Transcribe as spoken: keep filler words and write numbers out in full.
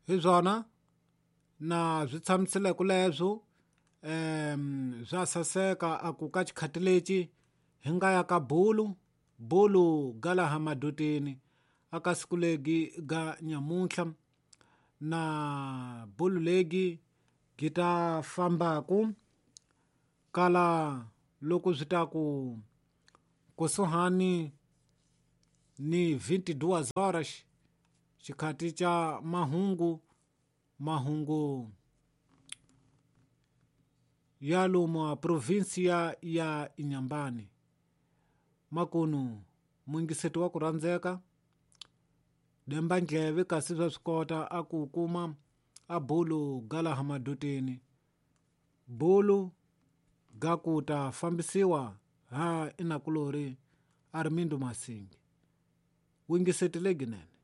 Hi swona na swi tshamisile leswo um swa saseka a ku ka xikhati lexi hi nga ya ka bulu bulu ga laha madutini aka siku legi ga nyamuntlha na bulu legi gi ta fambaku kala loko swi ta ku kusuhani ni vinte e duas horas, xikhati xa mahungu mahungu ya lomu a província ya Inhambane. Makunu muyingiseti wa ku rhandzeka demba ndleve kasi swa swi kota a ku kuma a bulu ga laha madutini bulu ga ku ta fambisiwa ha inakulori Armindo Masingi. Wingiseti leginene.